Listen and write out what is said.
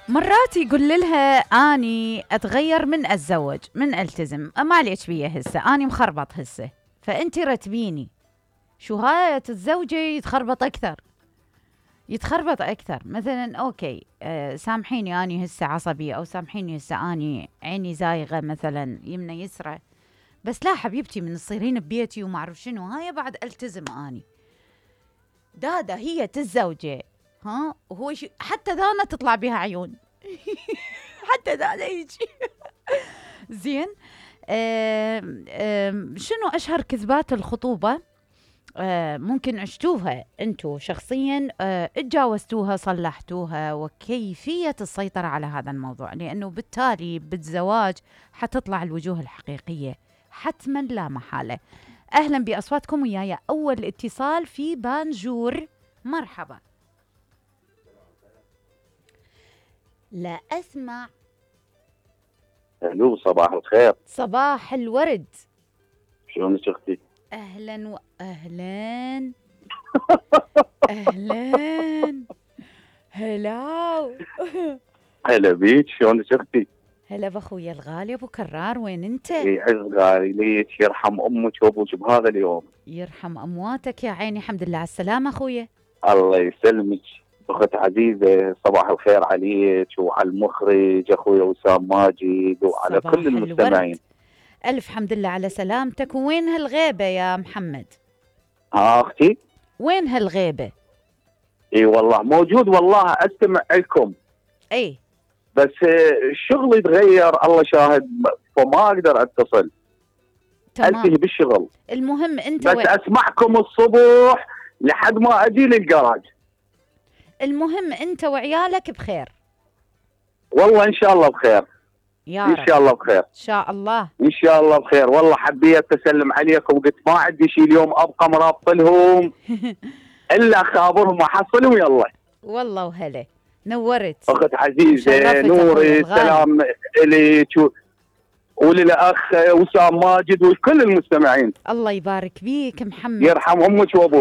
مرات يقول لها اني اتغير من اتزوج من التزم، ما عليك بيه هسه اني مخربط هسه، فانت رتبيني. شو هاي تتزوجي يتخربط اكثر. مثلا اوكي سامحيني اني هسه عصبيه، او سامحيني هسه اني عيني زايغه مثلا يمنى يسرى، بس لا حبيبتي من تصيرين ببيتي وما اعرف شنو، هاي بعد التزم اني. دادا هي تتزوجي ها، وهو حتى دانا تطلع بها عيون حتى دادا يجي زين. شنو اشهر كذبات الخطوبه ممكن عشتوها انتو شخصيا، اتجاوزتوها صلحتوها، وكيفيه السيطره على هذا الموضوع؟ لانه بالتالي بالزواج حتطلع الوجوه الحقيقيه حتما لا محاله. اهلا باصواتكم وياي اول اتصال في بانجور. مرحبا. لا اسمع. الو صباح الخير. صباح الورد. شلونك اختي؟ اهلا واهلا اهلا هلا هلا بيك، شلونك اختي؟ هلا باخويا الغالي ابو كرار، وين انت؟ يعز غالي ليك، يرحم امك وابوك بهذا اليوم. يرحم امواتك يا عيني، الحمد لله على السلامه اخويا. الله يسلمك اخت عزيزه، صباح الخير عليك وعلى المخرج اخويا وسام ماجد وعلى كل المستمعين. الف حمد لله على سلامتك. وين هالغيبه يا محمد؟ اختي وين هالغيبه؟ اي والله موجود، والله استمع لكم اي بس الشغل يتغير الله شاهد، فما اقدر اتصل. تمام. التهي بالشغل. المهم انت بس اسمعكم الصبح لحد ما اجي للجراج. المهم انت وعيالك بخير؟ والله ان شاء الله بخير يا ان شاء الله بخير، ان شاء الله ان شاء الله بخير. والله حبيت اسلم عليكم وقلت ما عندي شيء اليوم ابقى مرابطلهم الا اخابرهم واحصلهم. يلا والله وهلا، نورت اخت عزيزه، نوري سلام اليك وللاخ وسام ماجد وكل المستمعين. الله يبارك بيك محمد، يرحم امك وابوك.